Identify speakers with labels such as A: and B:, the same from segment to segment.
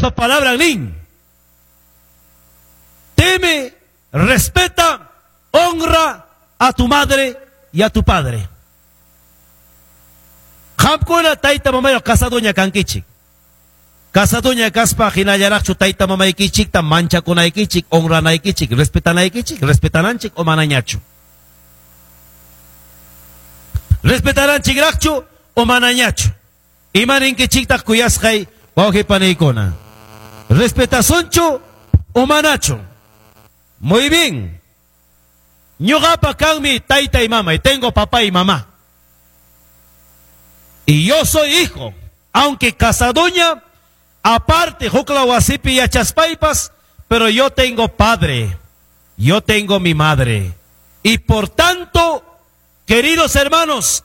A: Diospa palabran nin. Teme, respeta, honra a tu madre y a tu padre. Qamkuna tayta mamayuq casadoña kankichik. Casadoña kaspa hinallaraqchu tayta mamaykichikta manchakunaykichik, honranaykichik, respetanaykichik, respetananchik o manañachu. Respetananchikraqchu o manañachu. Imaninkichiktaq kuyasqay wawqi paniykuna. Respetasunchu o manachu. Muy bien. Ñuqapa kanmi tayta y mamay. Tengo papá y mamá. Y yo soy hijo, aunque casadoña, aparte huklaw wasipi yachaspaypas, pero yo tengo padre, yo tengo mi madre. Y por tanto, queridos hermanos,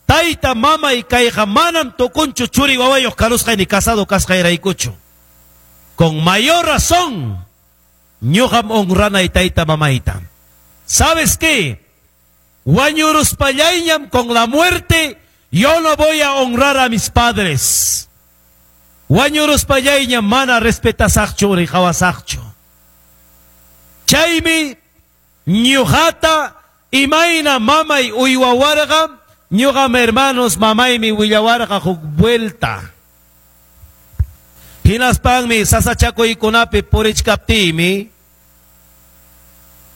A: tayta, mamay kayqa manam tukunchu churi wawayuq karusqay ni casado kasqayraykuchu. Con mayor razón, ñuqam honranay tayta mamayta. ¿Sabes qué? Wañuruspallayñam con la muerte, yo no voy a honrar a mis padres. Wañuruspallayñam mana respetasaqchu riqawasaqchu. Chaymi ñuqata imayna mamay uywawarqa, ñuqam hermanos mamaymi willawarqa huk vuelta. Hinaspanmi sasachakuykunapi purichkaptiymi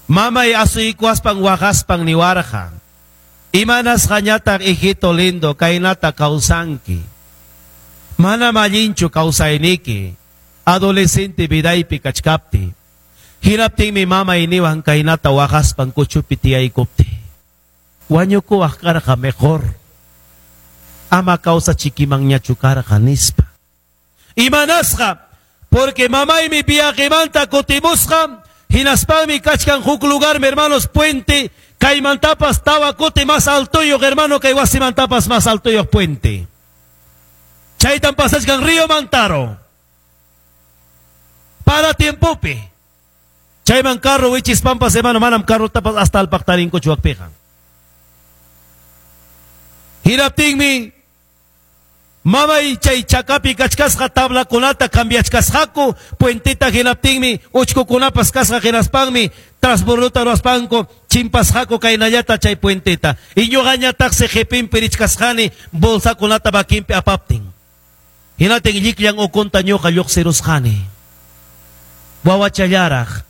A: mamay asuykuwaspan waqaspan niwarqa. Imanasqañataq hijito lindo kaynata kawsanki. Manam allinchu kawsayniki adolescente vidaypi kachkapti. Hinaptinmi mamay niwan kaynata waqaspan kuchupi tiyaykupti. Wañukuwaq karqa mejor. Ama kawsachikimanñachu karqa nispa. Imanasqa, porque mamaymi viajemanta kutimusqa, hinaspanmi kachkan huk lugar, hermanos, puente, kaymantapas tawa kuti más altoyuq, hermano, kay wasimantapas más altoyuq puente. Chaytan pasachkan río Mantaro. Para tiempopi. Chayman carro wichispanpas, hermano, manam carro tapas hasta alpaqtarinkuchu wakpiqa. Hinaptinmi mamay chay chakapi kachkasqa tablakunata cambiachkasqaku, puenteta hinaptinmi uchkukunapas kasqa hinaspanmi transbordota ruwaspanku chimpasqaku kaynallata chay puenteta. Y ñuqañataqsi qipinpi richkasqani bolsakunata makinpi apaptin. Hinatin llikllan ukunta ñuqa lluqsirusqani. Wawachallaraq.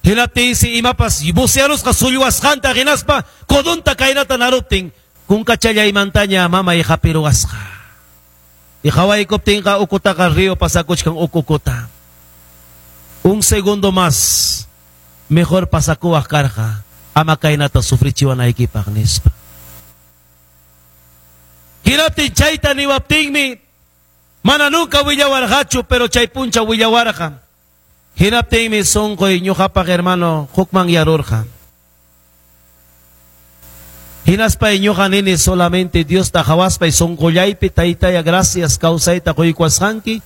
A: Hinaptinsi imapas bucearusqa sullwasqanta hinaspa codonta kaynata naruptin kunkachallaymantaña mamay hapiruwasqa. Y hawaykuptinqa ukutaqa río pasakuchkan ukukuta. Un segundo más mejor pasakuwaq karqa ama kaynata sufrichiwanaykipaq nispa. Hinaptin chayta niwaptinmi mana nunca willawarqachu, pero chay puncha willawarqa. Hinaptinmi sunquy ñuqapaq hermano hukman yarurqa. Hinaspay ñuqa nini solamente Diosta hawaspay sunqullaypi taytaya gracias kawsayta quykuwasqanki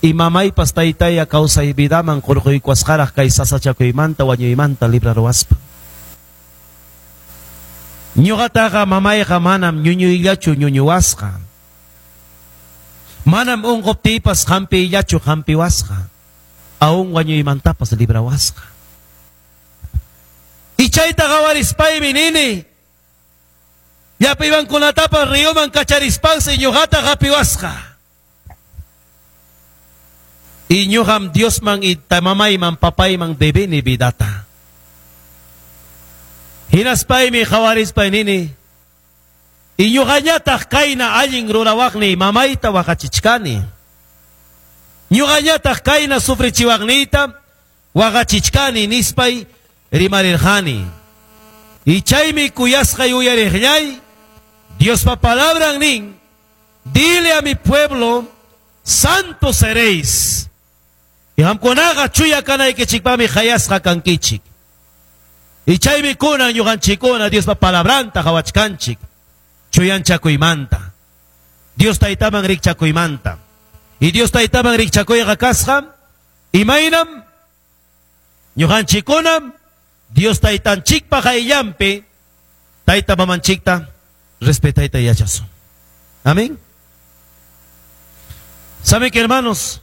A: y mamaypas taytaya kawsay vidaman qurquykuwasqaraq kay sasachakuymanta wañuymanta libraruwaspa. Ñuqataqa mamayqa manam ñuñuyllachu ñuñuwasqa. Manam unquptiypas hampiyllachu hampiwasqa. Aún wañuymantapas librawasqa. Y chayta qawarispaymi nini llapaymankunatapas ríoman kacharispansi ñuqata hapiwasqa. Y ñuqam Diosman y mamayman papayman debini vidata. Hinaspaymi qawarispay nini y ñuqañataq kayna allin rurawaqni mamayta waqachichkani. Ñuqañataq kayna sufrichiwaqniyta waqachichkani nispay rimarirqani. Y chaymi kuyasqay uyariqllay Diospa palabran nin, dile a mi pueblo, santo seréis. Y qamkunaqa chuya kanaykichikpami qayasqa kankichik. Y chaymi kunan ñuqanchikkuna Diospa palabranta qawachkanchik. Chuyanchakuymanta. Dios taytaman rikchakuymanta. Y Dios taytaman rikchakuyqa kasqa, imaynam ñuqanchikkunam Dios taytanchikpa qayllanpi tayta mamanchikta respetayta yachasun. Amén. ¿Saben que, hermanos?